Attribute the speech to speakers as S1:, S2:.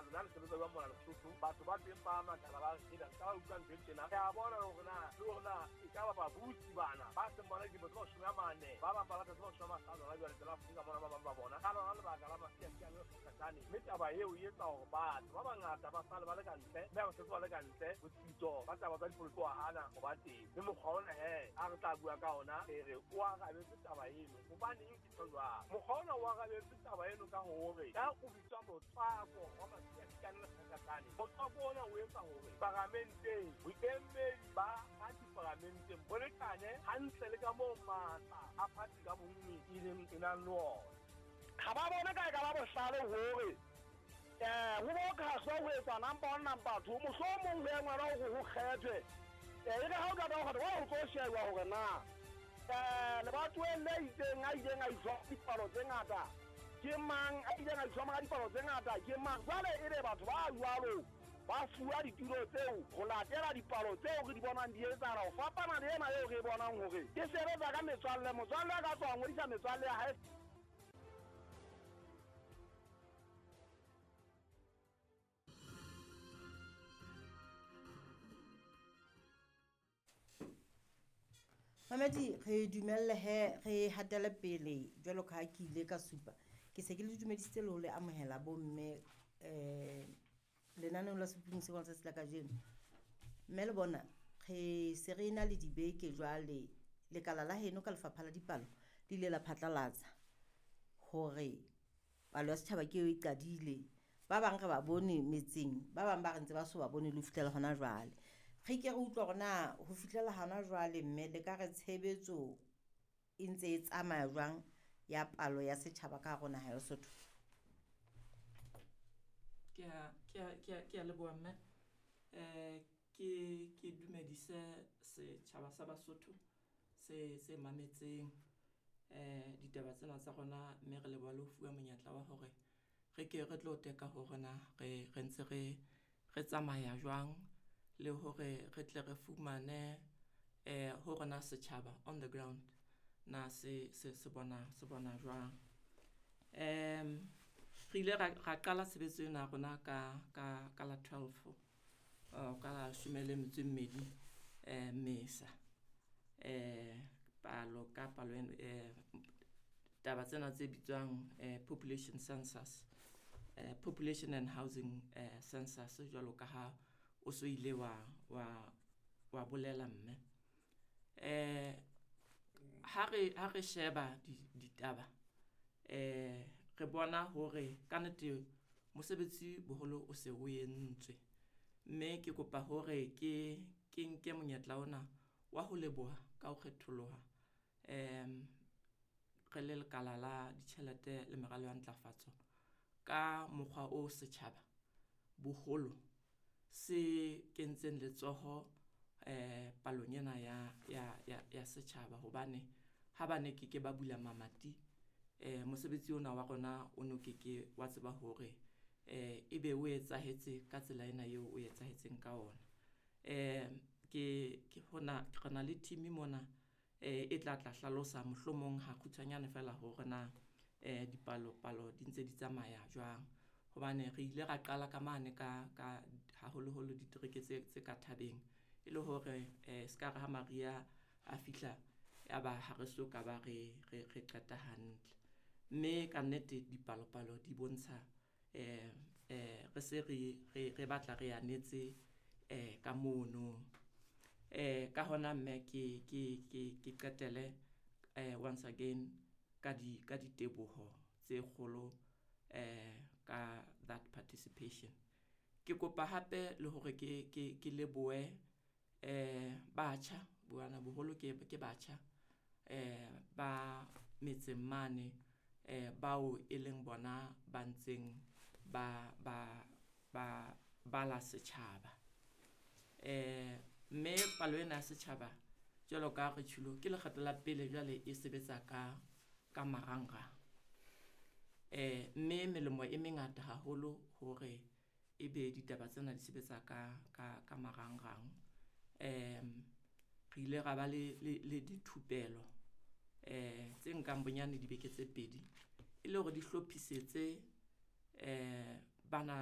S1: Lona le sebetsa jwang mona Lesotho? Batho ba teng ba makala, ba re hela ka ba utlwa ntho e tjena. Re a bona hore na le hore na e ka ba babusi bana ba seng bona dilemo tse 40, ba bang ba batla tse 50 hona jwale tsela Afrika mona, ba bang ba bona ka lona lebaka la masiasiane le kgakgatsane. Mme taba eo e etsa hore batho ba bangata ba sale ba le ka ntle, mme ha ba setse ba le ka ntle, botsitso ba taba tsa dipolotiki wa hana ho ba teng. Mme mokgwa ona he a re tla bua ka ona, re re o arabetse taba eno. Hobaneng ke tjho jwalo? Mokgwa ona o arabetse taba eno ka hore ka o bitswa motswako wa masiasiane le kgakgatsane. Motswako ona o etsa hore paramenteng boemedi ba party paramenteng bo lekane hantle le ka moo matla a party ka bonngwe e leng e nang le ona.
S2: Ha ba bone ka e ka ba bohlale hore ho bo khahlwa ho etswa number one, number two, mohlomong ho engwelwa hore ho kgethwe. E re ha o qeta ho kgetha, jwale ho tlo shejwa hore na lebatoweng le itseng a ileng a iswa dipalo tse ngata ke mang, a ileng a iswa ka dipalo tse ngata ke mang. Jwale ebe batho ba jwalo ba fuwa ditulo tseo ho latela dipalo tseo re di bonang di etsahala, ho fapana le ena eo re e bonang hore e sebetsa ka metswalle. Motswalle a ka tswa a ngodisa metswalle ya hae.
S3: Mamedi, re dumelle he re hatele pele jwalo ka ha ke ile ka supa. Ke se ke le dumedisitse le ho le amohela bomme lenaneong la Sephuphung se letsatsi la kajeno. Mme le bona re se re na le dibeke jwale, lekala la heno ka lefapha la dipalo le ile la phatlalatsa hore palo ya setjhaba ke eo e qadile. Ba bang re ba bone metseng, ba bang ba re ntse ba so ba bone le ho fihlela hona jwale. Re ke re utlwe hore na ho fihlela hona jwale mme le ka re tshebetso e ntse e tsamaya jwang ya palo ya setjhaba ka hare ho naha ya Lesotho?
S4: Ke a leboha mme. Ke dumedise setjhaba sa Basotho se mametseng ditaba tsena tsa rona, mme re leboha le ho fuwa monyetla wa hore re ke re tlo teka hore na re ntse re tsamaya jwang, le hore re tle re fumane hore na setjhaba on the ground na se bona jwang. Re ile ra qala tshebetso ena ya rona ka la 12, ka la 12 Mmesa. Palo ka palo taba tsena tse bitswang population census, population and housing census, jwalo ka ha o so ile wa bolela mme. Ha re sheba ditaba, re bona hore ka nnete mosebetsi boholo o se o entswe, mme ke kopa hore ke nke monyetla ona wa ho leboha ka ho kgetholoha re le lekala la ditjhelete le meralo ya ntlafatso ka mokgwa o setjhaba boholo se kentseng letsoho palong ena ya setjhaba, hobane ha ba ne ke ke ba bula mamati, mosebetsi ona wa rona o no ke ke wa tseba hore ebe o etsahetse ka tsela ena eo o etsahetseng ka ona. Ke hona re na le team mona e tla hlalosa mohlomong ha kgutshwanyane fela hore na dipalo palo di ntse di tsamaya jwang, hobane re ile ra qala ka mane ka haholoholo ditereke tse ka thabeng, e le hore se ka re ha Maria a fihla ya ba ha re so ka ba re qeta hantle. Mme ka nnete dipalopalo di bontsha re se re batla re anetse ka mono. Ka hona mme ke qetele once again ka diteboho tse kgolo ka that participation. Ke kopa hape le hore ke lebohe batjha, bana boholo ke batjha ba metseng mane bao e leng bona ba ntseng ba bala setjhaba. Mme palo ena ya setjhaba jwalo ka re tjholo ke lekgetlo la pele jwale e sebetsa ka marangrang. Mme melemo e mengata haholo hore ebe ditaba tsena di sebetsa ka marangrang. Re ile ra ba le dithupelo tse nkang bonyane dibeke tse 2 e le hore di hlophisetse bana.